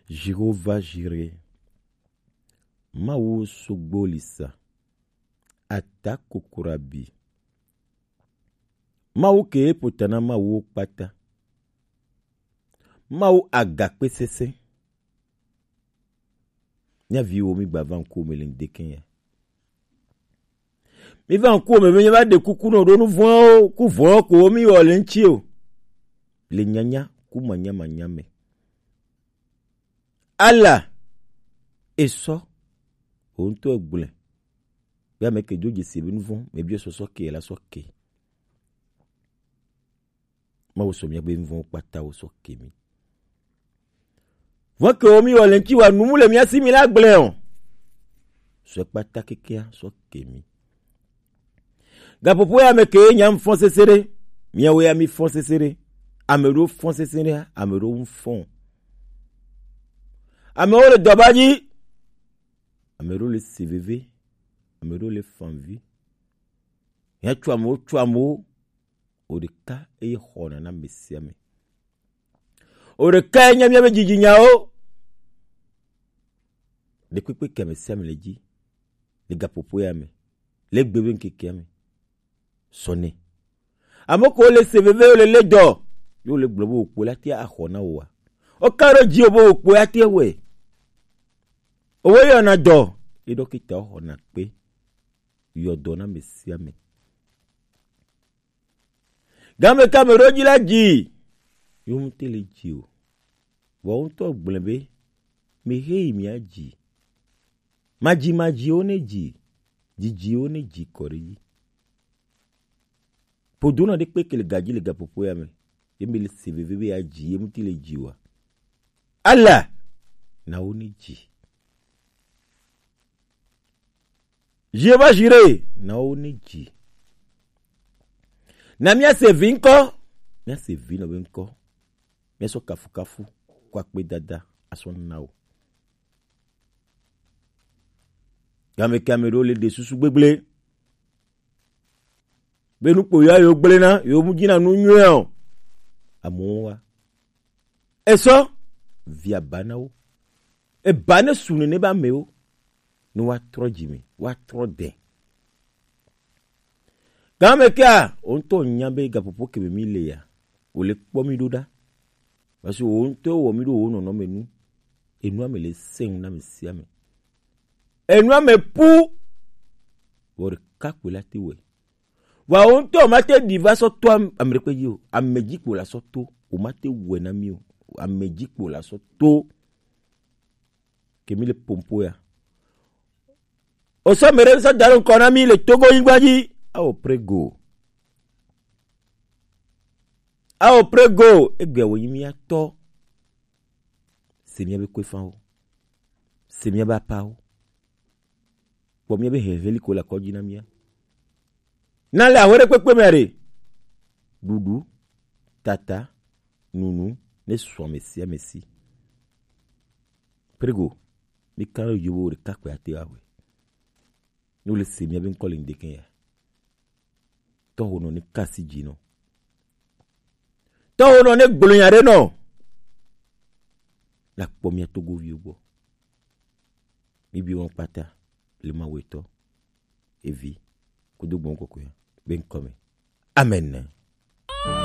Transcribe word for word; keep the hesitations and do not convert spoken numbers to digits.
Jéhovah Jiré, Mawu sogbolisa, ata kokorabi, Mawu ke e pota na Mawu wo kpata, Mawu agakpe sese. Mía viwo, mi gba va ŋkuwò me le ŋdekɛ ya. Mi va ŋkuwò me be mi va ɖe kuku nɔ ɖo nu vɔ̃wo ku vɔ̃wo ko wo mi wɔ le ŋuti o. Le nyanya ku manya manya me. Allah, esɔ, wò ŋutɔ egblɔe. Be ame ke do dzesi be nu vɔ̃ me biɔ sɔsɔ ke la sɔ ke. Mawu sɔ míaƒe nu vɔ̃wo kpata wo sɔ ke mí. Vɔ̃ ke wo mí wɔ le ŋuti wa nu mu le mía si mí la gblẽ o. Sɔ kpata kekea sɔ ke mí. Gaƒoƒo ya me ke nya fɔ̃ sese ɖe. Míawo ya mí fɔ̃ sese ɖe. Ame ɖewo fɔ̃ sese ɖe, ame ɖewo ŋu fɔ̃. Amewo le dɔba dzi. Ame ɖewo le se veve. Ame ɖewo le fanvi. Hia tso amewo, tso amewo. O ɖeka eye xɔna na ame sia ame. O ɖeka enye míaƒe dzidzinyawo. Ɖekpekpe ke ame sia ame le dzi. Le gaƒoƒo ya me. Le gbe be ŋkekea me. Sɔ nɛ. Ame ko le se veve, le le dɔ. Yo le gblɔ be wokpo la tia axɔ na woa. O ka ɖo dzi o be wokpo ya tia wɛ. Owo yɔna dɔ. Ye ɖɔkita xɔna kpe. Yɔ dɔ na ame sia ame. Game ke ame ɖewo dzi la dzi. Yewo ŋutɔ le dzi o. Vɔ wo ŋutɔ gblẽ be, mehe yi mia dzi. Madzi madziwo ne dzi. Dzidziwo ne dzi kɔ ɖe dzi. Ƒodonɔ ɖe kpe ke le gadzi le gaƒoƒo ya me. Ye mi le se veve be ya dzi, ye ŋuti le dzi wa. Allah, na wo ne dzi. Jéhovah Jiré, na wo ne dzi. Na míase vi ŋkɔ, míase vi nɔ be ŋkɔ. Míasɔ kafukafu kɔ akpedada asɔ na wo. Game ke ame ɖewo le ɖe susu gbegblẽ. Be nu kpo ya yewo gblẽ na, yewo mu dzina nu nyuie o. Amewo wa. Esɔ, via ba na wo. Eba ne su nene be amewo. Ne woatrɔ dzi me, woatrɔ de. Game kea, wo ŋutɔ nya be gaƒoƒo ke me mi le ya, wòle kpɔ mi ɖo ɖa. Parce que wo ŋutɔ wɔ mi ɖo wo nɔnɔme nu. Enua me le sẽŋ na ame sia ame. Enua me pu. Vɔ ɖeka koe la te wɔe. Vɔa wo ŋutɔ womate ɖi va sɔ to am-, ame ɖekpe dzi o. Ame dzi kpo la sɔ to. Womate wɔe na mi o. Ame dzi kpo la sɔ to. Ke mi le pompo ya. O sɔ me ɖe sɔ da ɖo ŋkɔ na mi le Togo nyigba dzi. Ao prego. Ao prego. Egbea wònyi mía tɔ. Se míabe kpefawo. Se míabe apawo. Kpɔ míabe hehe li ko le akɔdzi na mía. Na le ahwe ɖe kpekpe me ɖe. Ɖuɖu, tata, nunu, ne sɔ ame sia ame si. Prego, mi kan ɖe yovo ɖeka kpe ate awe. Ne wole se míabe ŋkɔ le ŋdeke ya. Tɔho nɔ ne kasi dzi nɔ. Tɔho nɔ ne gblɔ nya ɖe nɔ. La kpɔ mía Togoviwo gbɔ. Mi bi wɔn kpata le Mawu etɔ, Evi, kudo gbɔn kɔkɔe be ŋkɔ me. Amen.